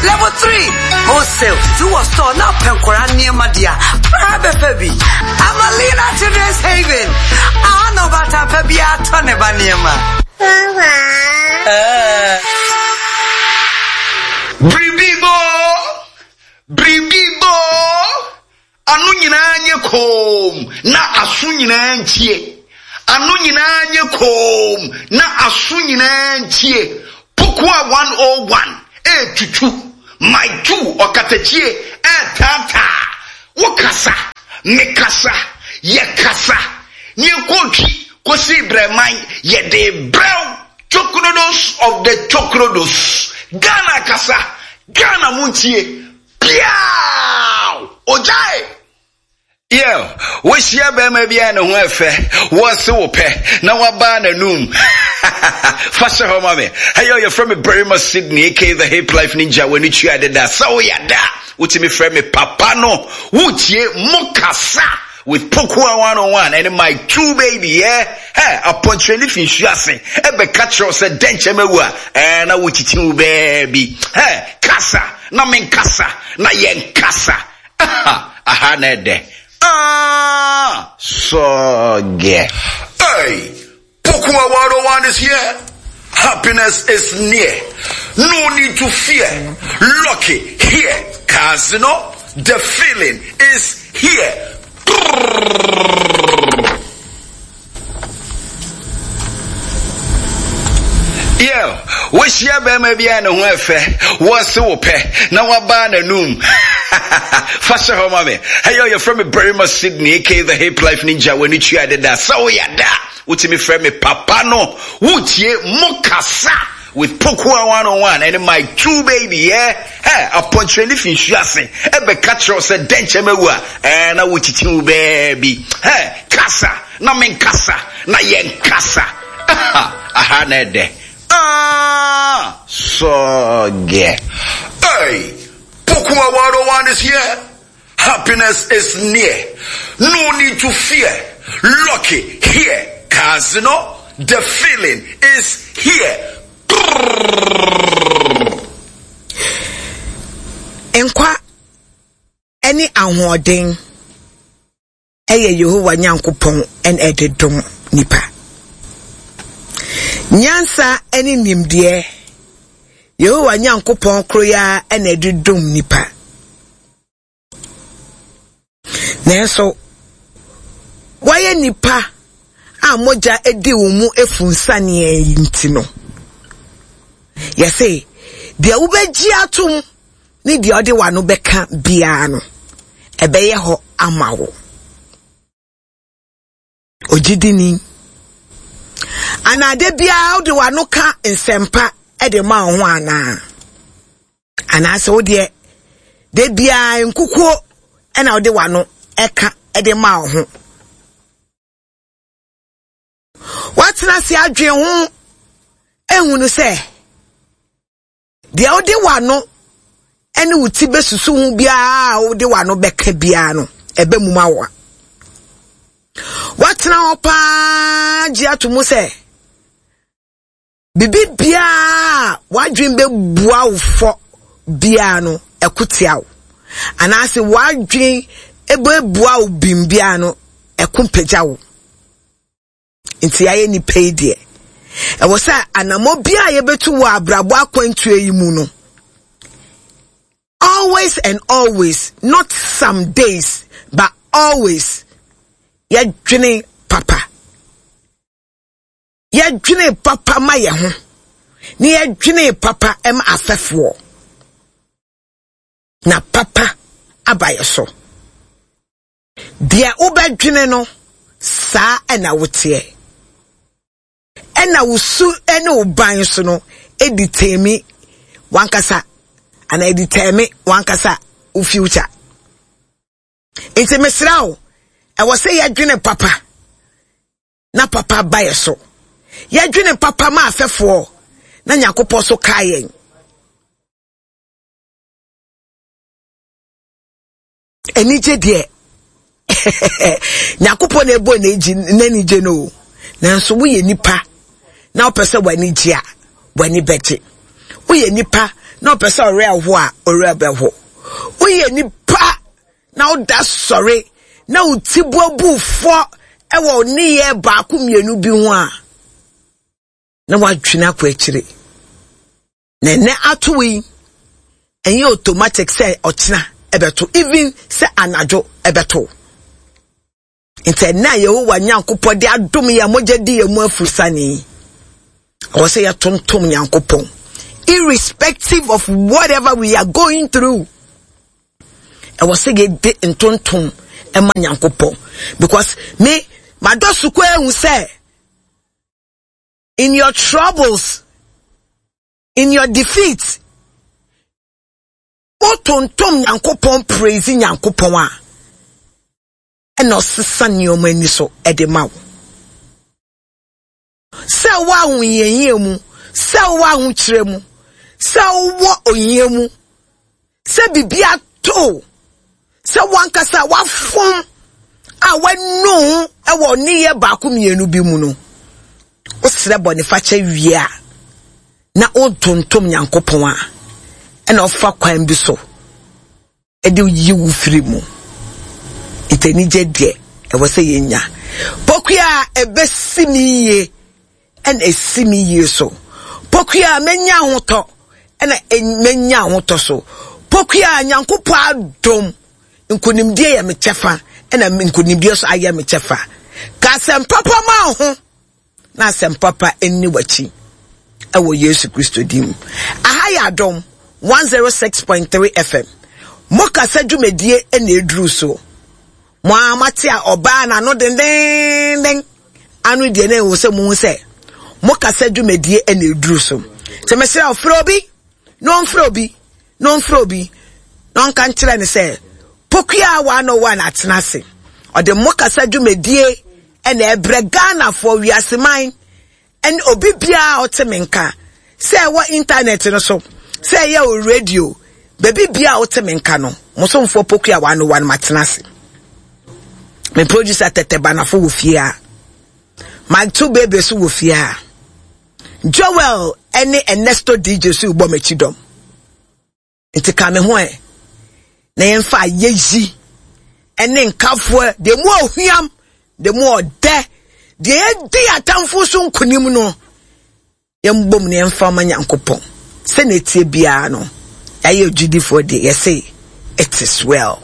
Level 3 Wholesale. Ti wɔ store na pɛ nkwadaa nneɛma deɛ a, bra bɛfa bi. Amalina Children's Haven. Aha na ɔbaatan pa biara tɔ ne ba nneɛma. Biribi bɔ, biribi bɔ, ano nyinaa nyɛ koom na aso nyinaa ntie. Ano nyinaa nyɛ koom na aso nyinaa ntie. Pokua 101 ɛretutu, my two ɔkatakyie ɛretaataa. Wo kasa, me kasa, yɛ kasa. Ne yɛkɔɔtwi kɔsii brɛman, yɛde brɛw. Chokrodos of the Chokrodos. Ghana kasa, Ghana muntie. Piaw! Ogyae! Yeah, wohyia bɛrima bi a ne ho ɛfɛ, wɔse wo pɛ, na wabaa n'anum. Fa hyɛ hɔ ma me. Hey, yo, yɛfrɛ me Barima Sydney, aka the Hip Life Ninja, w'ani tua deda. Sɛ woyɛ da, wotumi frɛ me papa no. Wotie mo kasa with Pokua 101 and my two baby, yeah? Hey, apɔnkyerɛni fi nsu ase, ɛbɛka kyerɛ wo sɛ dɛnkyɛm awu a, ɛɛ na wokyikyi wo baabi. Hey, kasa, na menkasa, na yɛnkasa. Aha, aha na ɛdɛ. Ah, sɔgɛ. Hey, Pokua 101 is here. Happiness is near. No need to fear. Lucky here. Casino, the feeling is here. Yeah, wohyia bɛrima bi a ne ho ɛfɛ, wɔse wo pɛ, na wabaa n'anum. Fa hyɛ hɔ ma me. Hey, yo, yɛfrɛ me Barima Sydney, aka the Hip Life Ninja, w'ani tua deda. Sɛ woyɛ da, wotumi frɛ me papa no. Wotie mo kasa with Pokua 101 and my two baby, yeah? Hey, apɔnkyerɛni fi nsu ase, ɛbɛka kyerɛ wo sɛ dɛnkyɛm awu a, ɛɛ na wokyikyi wo baabi. Hey, kasa, na menkasa, na yɛnkasa. Aha, aha na ɛdɛ. Ah, sɔgɛ. Hey, Pokua 101 is here. Happiness is near. No need to fear. Lucky here. Casino, the feeling is here. Nkwa ne ahoɔden yɛ Yehowa Nyankopɔn na ɛde dom nipa. Nyansa ne nimdeɛ, Yehowa Nyankopɔn koro yi ara na ɛde dom nipa. Nanso, wɔayɛ nnipa a mogya di wɔn mu afunsaneɛ yi nti no, yɛse deɛ wobɛgye atom ne deɛ ɔde w'ano bɛka biara no, ɛbɛyɛ hɔ ama wo. Ogyidini. Anaa da biara wode w'ano ka nsɛmpa de ma wo ho anaa? Anaasɛ wo deɛ da biara nkukuo na wode w'ano ka de ma wo ho? Woatena ase adwen ho ehunu sɛ Deɛ wode w'ano ne wo ti bɛsusu ho biara a wode w'ano bɛka biara no, ɛbɛ mu ma wo. Woatena hɔ paa gye ato mu sɛ biribi biara a w'adwene bɛbua wo fɔ biara no, ɛko tia wo. Anaasɛ w'adwene bɛbua wo bim biara no, ɛko mpagya wo. Nti yɛayɛ nnipa yi deɛ, ɛwɔ sɛ anammɔ biara a yɛbɛtu wɔ abrabɔ akwantuo yi mu no, always and always, not some days, but always, yɛdwene papa. Yɛdwene papa ma yɛn ho, na yɛdwene papa ma afɛfoɔ. Na papa aba yɛ so. Deɛ wobɛdwene no, saa na woteɛ. Ɛna wo su ne wo ban so no di tɛmi wankasa anaa ɛdi tɛmi wankasa wo future. Nti mesrɛ wo, ɛwɔ sɛ yɛdwene papa na papa ba yɛ so. Yɛdwene papa ma afɛfoɔ na Nyankopɔn so kaa yɛn. Anigye deɛ Nyankopɔn na ɛbɔ n'anigye no o. Nanso woyɛ nipa na wopɛ sɛ w'ani gye a, w'ani bɛgye. Woyɛ nipa na ɔpɛ sɛ ɔwerɛ ho a, ɔwerɛ bɛho. Woyɛ nipa na woda sɔre na wo ti bu fɔ wɔ nneyɛɛ baako mmienu bi ho a, na woadwene akɔ akyire. Na ɛnɛ ato yi, ɛnyɛ automatic sɛ ɔkyena ɛbɛto, even sɛ anadwo ɛbɛto. Nti ɛnɛ a Yehowa Nyankopɔn de adom yɛ mogya di yɛn mu afusane yi, ɛwɔ sɛ yɛtontom Nyankopɔn irrespective of whatever we are going through. Ɛwɔ sɛ yɛde ntontom ɛma Nyankopɔn because me madɔ sukuu ehu sɛ in your troubles, in your defeat, wotontom Nyankopɔn praise Nyankopɔn a, ɛna ɔsesa nneɛma ani so ɛde ma wo. Sɛ wowɔ ahohiahia mu, sɛ wowɔ ahokyerɛ mu, sɛ wowɔ ohia mu, sɛ biribi ato sɛ wankasa wafom a wanu ho wɔ nneyɛ baako mmienu bi mu no, wosrɛ bɔnefakyɛ wie a, na wotontom Nyankopɔn a, ɛna ɔfa kwan bi so de yi wo firi mu. Nti anigye deɛ ɛwɔ sɛ yɛnya. Pokua a ɛbɛsi me yie ɛna ɛsi me yie so. Pokua a mɛnya ahotɔ ɛna mɛnya ahotɔ so. Pokua a Nyankopɔn adom nkonimdie yɛ me kyɛfa ɛna nkonimdie so ayɛ me kyɛfa. Ka asɛm papa ma ho na asɛm papa nni w'akyi ɛwɔ Yesu Kristo din mu. Aha yɛ Adom 106.3 FM. Mo kasa dwumadie ɛna ɛduru so. Mo ara moate a ɔbaa n'ano dendeenden ano deɛ na ɛwɔ sɛ muhu sɛ mo kasa dwumadie na ɛduru so. Sɛ mesrɛ wo frɛ obi na ɔmfrɛ obi na ɔmfrɛ obi na ɔnka nkyerɛ no sɛ Pokuaa 101 atena ase. Ɔde mo kasa dwumadie na ɛbrɛ Ghanafoɔ, wiaseman ɛne obi biara a ɔte me nka, sɛ ɛwɔ intanɛt no so, sɛ ɛyɛ o radio, baabi biara a wote me nka no, mo somfoɔ Poku a wano wano matena ase. Me producer Tɛtɛ Banafo wɔ fie a, Mike Two Baby so wɔ fie a, Joel ɛne Ernesto DJ so bɔ m'akyi dɔm. Nti ka me ho ɛ, na yɛmfa ayɛyi ne nkafoɔ, deɛ mu ɔhwiam, deɛ mu ɔdɛ, deɛ yɛdi atamfo so nkonim no, yɛmbom na yɛmfa ma Nyankopɔn. Sɛnea ɛteɛ biara no, yɛayɛ agyidifoɔ deɛ, yɛse it is well.